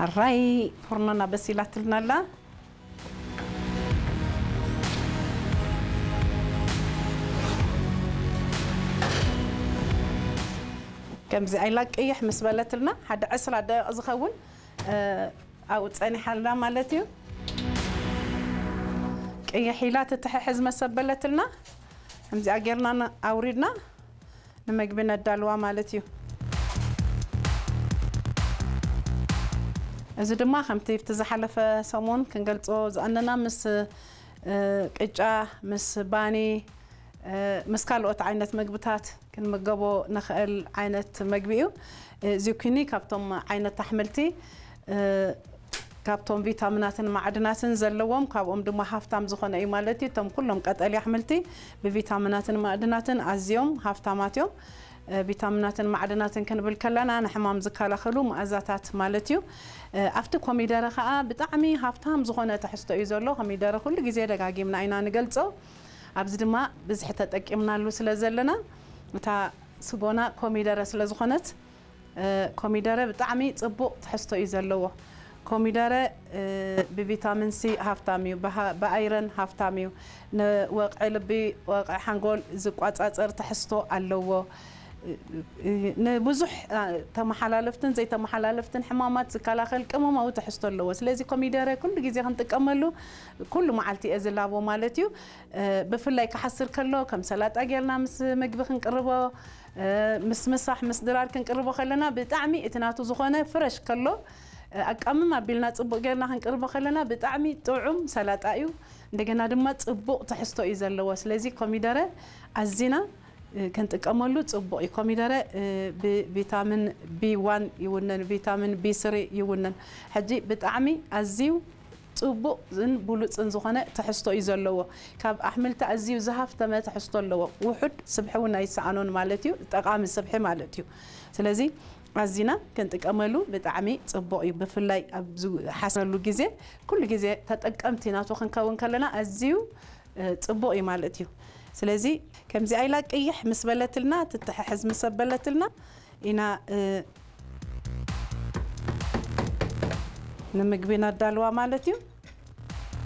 ኣራይ፣ ፎርኖና በሲላትልና ኣላ። ከምዚ ኣይላ ቅይሕ ምስ በለትልና፣ ሓደ ዕስራ ደቂቕ ዝኸውን ኣብኡ ጸኒሓልና ማለት እዩ። ቅይሕ ኢላ ትትሕሕዝ መሰበለትልና፣ ከምዚኣ ጌርና ኣውሪድና ንመግቢ ነዳልዋ ማለት እዩ። እዚ ድማ ከምቲ ኣብቲ ዝሓለፈ ሰሙን ክንገልጾ ዝኣነና ምስ ቅጫ፣ ምስ ባኒ፣ ምስ ካልኦት ዓይነት መግብታት ክንምገቦ ንኽእል ዓይነት መግቢ እዩ። ዚኩኒ ካብቶም ዓይነት ኣሕምልቲ፣ ካብቶም ቪታሚናትን ማዕድናትን ዘለዎም፣ ካብኦም ድማ ሃፍታም ዝኾነ እዩ ማለት እዩ። እቶም ኩሎም ቀጠልያ ኣሕምልቲ ብቪታሚናትን ማዕድናትን ኣዝዮም ሃፍታማት እዮም። ቪታሚናትን ማዕድናትን ክንብል ከለና ንሕማም ዝከላኸሉ መኣዛታት ማለት እዩ። ኣብቲ ኮሚደረ ከዓ ብጣዕሚ ሃፍታም ዝኾነ ትሕዝቶ እዩ ዘሎ። ኮሚደረ ኩሉ ግዜ ደጋጊምና ኢና ንገልጾ። ኣብዚ ድማ ብዝሒ ተጠቂምናሉ ስለ ዘለና፣ እታ ስጎና ኮሚደረ ስለ ዝኾነት፣ ኮሚደረ ብጣዕሚ ጽቡቕ ትሕዝቶ እዩ ዘለዎ። ኮሚደረ ብቪታሚን ሲ ሃፍታም እዩ፣ ብኣይረን ሃፍታም እዩ። ንወቕዒ ልቢ፣ ወቕዒ ሓንጎል ዝቋጻጸር ትሕዝቶ ኣለዎ። ንብዙሕ ተመሓላለፍትን ዘይተመሓላለፍትን ሕማማት ዝከላኸል ቅመማዊ ትሕዝቶ ኣለዎ። ስለዚ ኮሚደረ ኩሉ ግዜ ክንጥቀመሉ ኩሉ መዓልቲ እየ ዝላቦ ማለት እዩ። ብፍላይ ክሓስር ከሎ ከም ሰላጣ ጌርና ምስ ምግቢ ክንቅርቦ፣ ምስ ምሳሕ ምስ ድራር ክንቅርቦ ከለና ብጣዕሚ እቲ ናቱ ዝኾነ ፍረሽ ከሎ ኣቃምም ኣቢልና ጽቡቕ ጌርና ክንቅርቦ ከለና ብጣዕሚ ጥዑም ሰላጣ እዩ። እንደገና ድማ ጽቡቕ ትሕዝቶ እዩ ዘለዎ። ስለዚ ኮሚደረ ኣዚና ክንጥቀመሉ ጽቡቕ እዩ። ኮሚደረ ብቪታሚን ቢ ዋን ይውነን፣ ቪታሚን ቢ ስሪ ይውነን። ሕጂ ብጣዕሚ ኣዝዩ ጽቡቕን ብሉጽን ዝኾነ ትሕዝቶ እዩ ዘለዎ። ካብ ኣሕምልቲ ኣዝዩ ዝሃፍተመ ትሕዝቶ ኣለዎ። ውሑድ ስብሒ እውን ኣይሰኣኖን ማለት እዩ፣ ጠቓሚ ስብሒ ማለት እዩ። ስለዚ ኣዚና ክንጥቀመሉ ብጣዕሚ ጽቡቕ እዩ። ብፍላይ ኣብ ዝሓስረሉ ግዜ፣ ኩሉ ግዜ ተጠቀምቲ ናቱ ክንከውን ከለና ኣዝዩ ጽቡቕ እዩ ማለት እዩ። ስለዚ ከምዚ ኣይላ ቅይሕ ምስ በለትልና፣ ትተሓሕዝ ምስ በለትልና ኢና ንምግቢ ነዳልዋ ማለት እዩ።